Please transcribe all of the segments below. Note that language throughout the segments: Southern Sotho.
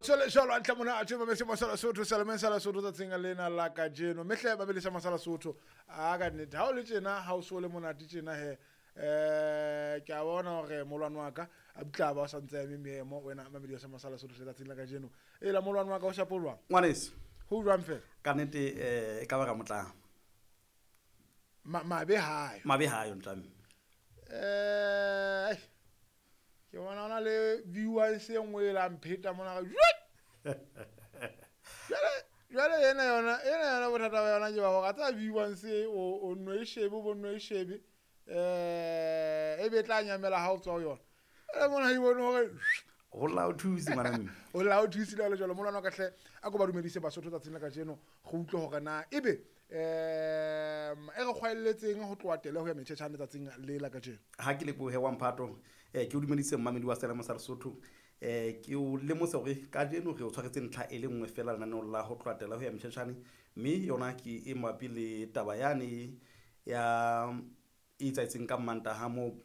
Sole jwalo hantle monate mametse Masala Sotho Salemeng sa Lesotho tsatsing lena la kajeno. Mehle mamedisa Masala Sotho a ka nnete ha o le tjena ha o so le monate tjena he ke a bona hore molwane wa ka a butla ba o sa ntse eme meemo wena mamedi wa Masala Sotho tsatsing la kajeno. E la molwane wa ka o shapo jwang? Ngwaneso. Ho jwang fela? Ka nnete e ka ba ka motlang. Mabe hayo. Mabe hayo ntlame. Ke bona ona le viewers e nngwe e la mpheta mona ka jwale ena yona bothata ba yona ke ba hore a tsa viewers o nwe shebe bo nwe shebe e be tla nyamela ha o tswa ho yona. E mona e bone hore ho la o thuse ngwana mme. O la o thuse le jwalo molwana ka hle a ko ba dumedise Basotho tsatsing la kajeno go utlwe hore na ebe e re kgwaelletseng ho tloha tele ho ya metjhetjhane tsatsing le la kajeno. Ha ke lebohe wa mphato ke o dumedise mmamedi wa Selemo sa Lesotho ke o lemose hore kajeno re o tshwaretse ntlha e le nngwe fela lenaneong la ho tloha tele ho ya metjhetjhane, mme yona ke e mabapi le taba yane ya e etsaetseng ka Mantaha moo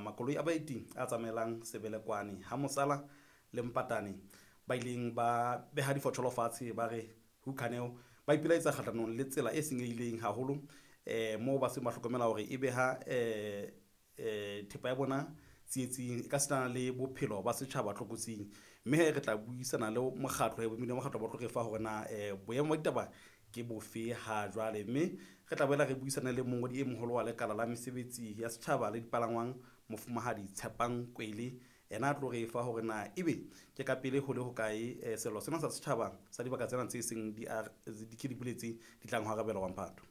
makoloi a baeti a tsamaelang Sebelekwane ha Mosala le Mpatane ba ileng ba beha difotsholo fatshe ba re hukhaneo ba ipelaetsa kgahlanong le tsela e senyehileng haholo moo ba seng ba hlokomela hore e beha thepa ya bona tsietsing e ka sitana le bophelo ba setjhaba tlokotsing. Mme he re tla buisana le mokgatlo boemedi ba mokgatlo ba tlo re fa hore na boemo ba ditaba ke bofe ha jwale. Mme re tla boela re buisana le mongodi e moholo wa lekala la mesebetsi ya setjhaba le dipalangwang Mofumahadi Tshepang Kwele, ena a tlo re fa hore na ebe ke ka pele ho le hokae sello sena sa setjhaba sa dibaka tsena tse seng di ke di buletse di tlang ho arabela wa mphato.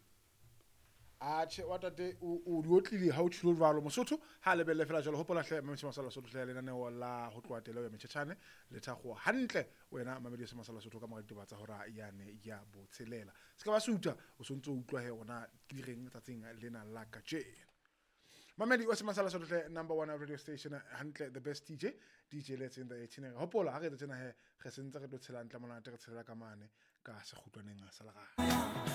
Atjhe wa tate o di otlile ha o tjhilo jwalo Mosotho ha lebelle fela jwalo hopola hle mametse Masala Sotho hle lenaneo la ho tloha tele ya metjhetjhane le thakgoa hantle wena mamedi se Masala Sotho ka mora ditaba tsa hora yane ya botshelela. Se ka ba suta o sontso utlwa he ona ke di reng tsatsing lena la kajeno. Mamedi wa Masala Sotho hle number 1 radio station hantle the best DJ DJ let's in the 18. Hopola ha re tsena he re sentse re tlo tshela hantle monate re tshela ka mane ka sekgutlwaneng sa lerato.